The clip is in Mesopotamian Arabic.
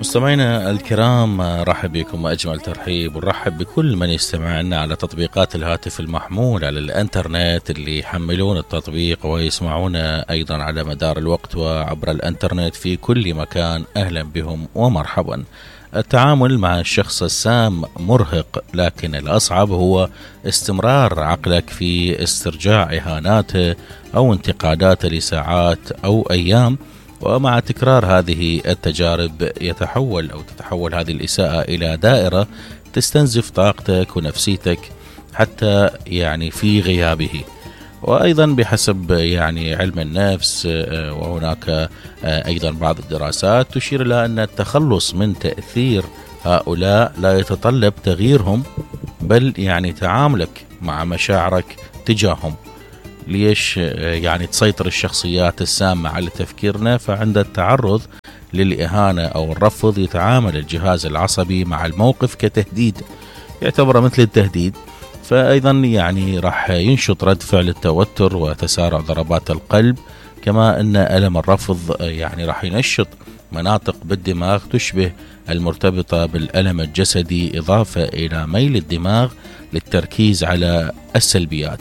مستمعينا الكرام، رحب بكم وأجمل ترحيب، ونرحب بكل من يستمع لنا على تطبيقات الهاتف المحمول على الانترنت، اللي يحملون التطبيق ويسمعونا أيضا على مدار الوقت وعبر الانترنت في كل مكان. أهلا بهم ومرحبا. التعامل مع الشخص السام مرهق، لكن الأصعب هو استمرار عقلك في استرجاع إهاناته أو انتقاداته لساعات أو أيام. ومع تكرار هذه التجارب تتحول هذه الإساءة إلى دائرة تستنزف طاقتك ونفسيتك حتى في غيابه. وأيضا بحسب علم النفس، وهناك أيضا بعض الدراسات تشير إلى أن التخلص من تأثير هؤلاء لا يتطلب تغييرهم، بل تعاملك مع مشاعرك تجاههم. ليش تسيطر الشخصيات السامة على تفكيرنا؟ فعند التعرض للإهانة أو الرفض يتعامل الجهاز العصبي مع الموقف كتهديد، يعتبر مثل التهديد. فأيضا راح ينشط رد فعل التوتر وتسارع ضربات القلب، كما أن ألم الرفض راح ينشط مناطق بالدماغ تشبه المرتبطة بالألم الجسدي، إضافة إلى ميل الدماغ للتركيز على السلبيات.